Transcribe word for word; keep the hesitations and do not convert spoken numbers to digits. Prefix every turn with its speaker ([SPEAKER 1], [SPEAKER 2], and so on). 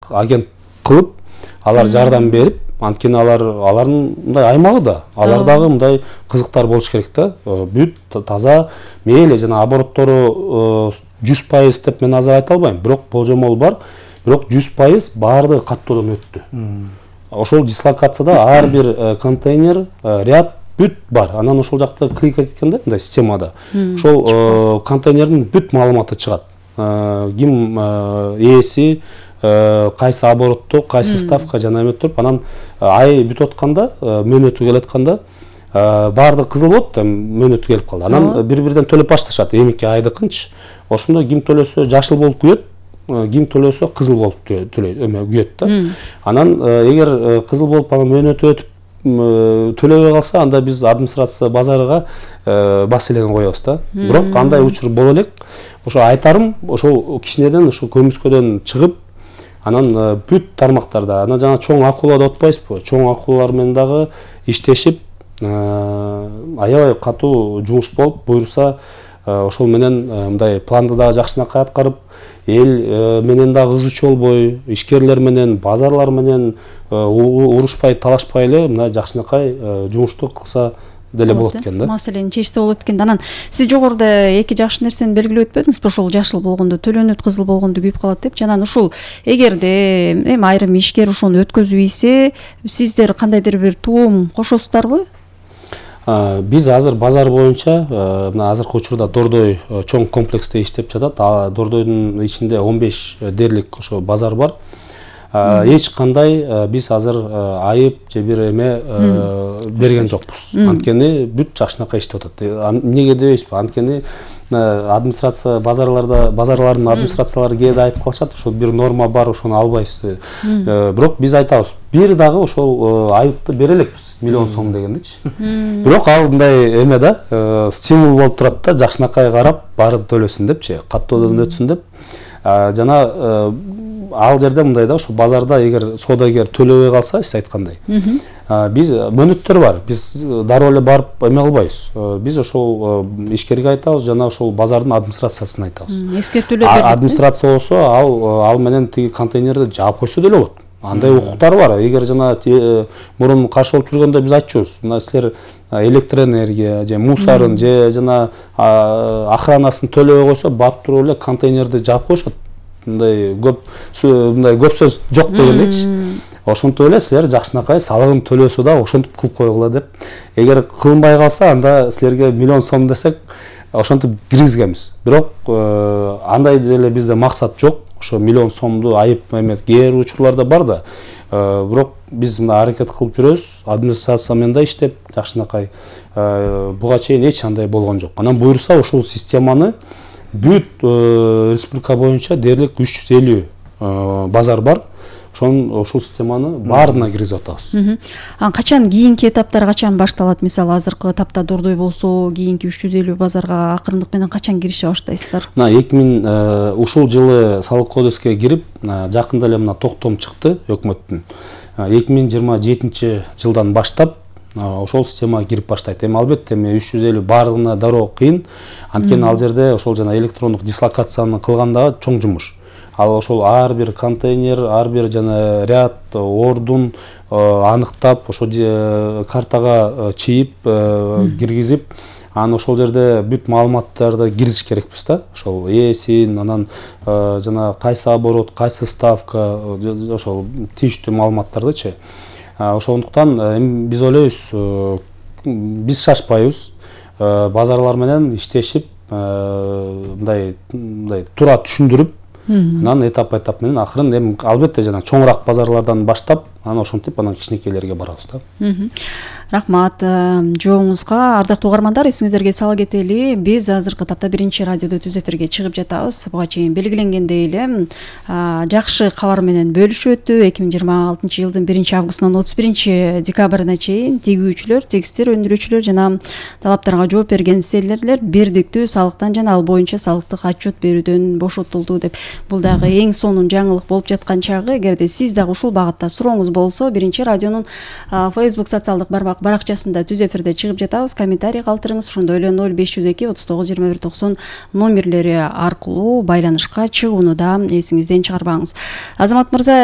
[SPEAKER 1] агент кылып, алар жардам берип, анткени алар алардын мындай аймагы да, алар дагы мындай кызыктар болуш керек да. Бүт таза, мейли жана обороттору жүз пайыз деп мен азыр айта албайм, бирок болжомол бар. Бирок жүз пайыз баардыгы каттоодон өттү. Ошол дислокацияда ар бир контейнер, ряд бүт бар. Анан ошол жакта клик эткенде, мындай системада ошол контейнердин бүт маалыматы чыгат. Ким ээси, кайсы оборотто, кайсы ставка жана эме туруп, анан ай бүтүп атканда, мөөнөтү келип атканда баардыгы кызыл болот, мөөнөтү келип калды. Анан бири-бириден төлөп башташат. Эмики айдыкынчы. Ошондо ким төлөсө жашыл болуп күйөт, ким төлөсө кызыл болуп төлөйт, эме күйөт да. Анан эгер кызыл болуп анан мөөнөтү өтүп төлөбөй калса, анда биз администрация базарыга маселени коебуз да. Бирок андай учур боло элек. Ошо айтарым, ошол кичинеден ошо көмүскөдөн чыгып, анан бүт тармактарда, анан жана чоң акула деп атпайсызбы? Чоң акулалар менен дагы иштешип, аябай катуу жумуш болуп, буюрса ошол менен мындай планды дагы жакшынакай аткарып, эл менен дагы ызычуу болбой, ишкерлер менен, базарлар менен урушпай, талашпай эле мына жакшынакай жумушту кылса деле болот экен да.
[SPEAKER 2] Маселени чечсе болот экен. Анан сиз жогоруда эки жакшы нерсени белгилеп өтпөдүңүзбү? Ошол жашыл болгондо төлөнөт, кызыл болгондо күйүп калат деп. Жана ушул эгерде эми айрым ишкер ошону өткөзүп ийсе, сиздер кандайдыр бир туум кошосуздарбы?
[SPEAKER 1] Биз азыр базар боюнча мына азыркы учурда Дордой чоң комплексте иштеп жатат. Дордойдун ичинде он беш дээрлик ошо базар бар. Эч кандай биз азыр айып же бир эме берген жокпуз. Анткени бүт жакшынакай иштеп атат. Эмнеге дебейсизби? Анткени администрация базарларда, базарлардын администрациялары кээде айтып калышат, ошол бир норма бар, ошону албайсыз. Бирок биз айтабыз, бир дагы ошол айыпты бере элекпиз, миллион сом дегендичи. Бирок ал мындай эме да, стимул болуп турат да, жакшынакай карап, баары төлөсүн депчи, каттоодон өтсүн деп. Жана ал жерде мындай да, ошо базарда эгер соодагер төлөбөй калса, сиз айткандай, биз мөөнөттөр бар. Биз дароо эле барып эме кылбайбыз. Биз ошол ишкерге айтабыз, жана ошол базардын администрациясына айтабыз.
[SPEAKER 2] Эскертүүлөр берет.
[SPEAKER 1] Администрация болсо, ал ал менен тиги контейнерди жаап койсо деле болот. Андай укуктар бар. Эгер жана мурун каршы болуп жүргөндө биз айтчубуз, мына силер электроэнергия же мусарын же жана охранасын төлөбөй койсо, барып туруп эле контейнерди жаап коюшат. Мындай көп мындай көп сөз жок дегендейчи. Ошентип эле силер жакшынакай салыгын төлөсө да ошентип кылып койгула деп. Эгер кылынбай калса, анда силерге миллион сом десек, ошентип киргизгенбиз. Бирок андай деле бизде максат жок. Ошо миллион сомду айып эме кээ бир учурларда бар да. Бирок биз мына аракет кылып жүрөбүз, администрация менен да иштеп, жакшынакай буга чейин эч андай болгон жок. Анан буюрса ошол системаны бүт республика боюнча дээрлик үч жүз элүү базар бар. Ошон ошол системаны баарына киргизип атабыз.
[SPEAKER 2] Анан качан кийинки этаптар качан башталат? Мисалы азыркы этапта Дордой болсо, кийинки үч жүз элүү базарга акырындык менен качан кирише баштайсыздар?
[SPEAKER 1] Мына эки миң ушул жылы салык кодекске кирип, жакында эле мына токтом чыкты өкмөттүн. эки миң жыйырма жетинчи жылдан баштап ошол системага кирип баштайт. Эми албетте эми үч жүз элүү баарына дароо кыйын. Анткени ал жерде ошол жана электрондук дислокацияны кылганда чоң жумуш. Ал ошол ар бир контейнер, ар бир жана ряд, ордун аныктап, ошо картага чийип, киргизип, анан ошол жерде бүт маалыматтарды киргизиш керекпиз да. Ошол ээсин, анан жана кайсы оборот, кайсы ставка, ошол тийиштүү маалыматтардычы. Ошондуктан эми биз ойлойбуз, биз шашпайбыз, базарлар менен иштешип, мындай мындай туура түшүндүрүп, анан этап-этап менен акырын эми албетте жана чоңураак базарлардан баштап, анан ошентип анан кичинекейлерге барабыз да.
[SPEAKER 2] Рахмат жооңузга. Ардактуу угармандар, эсиңиздерге сала кетели, биз азыркы тапта биринчи радиодо түз эфирге чыгып жатабыз. Буга чейин белгиленгендей эле жакшы кабар менен бөлүшүп өттү. эки миң жыйырма алтынчы жылдын биринчи августунан отуз биринчи декабрына чейин тигүүчүлөр, текстиль өндүрүүчүлөр жана талаптарга жооп берген селлерлер бирдиктүү салыктан жана ал боюнча салыктык отчет берүүдөн бошотулду деп. Бул дагы эң сонун жаңылык болуп жаткан чагы. Эгерде сиз дагы ушул багытта сурооңуз суроолоруңуз болсо биринчи радионун Facebook социалдык баракчасында түз эфирде чыгып жатабыз. Комментарий калтырыңыз. Ошондой эле ноль беш жүз эки отуз тогуз жыйырма бир токсон номерлери аркылуу байланышка чыгууну да эсиңизден чыгарбаңыз. Азамат мырза,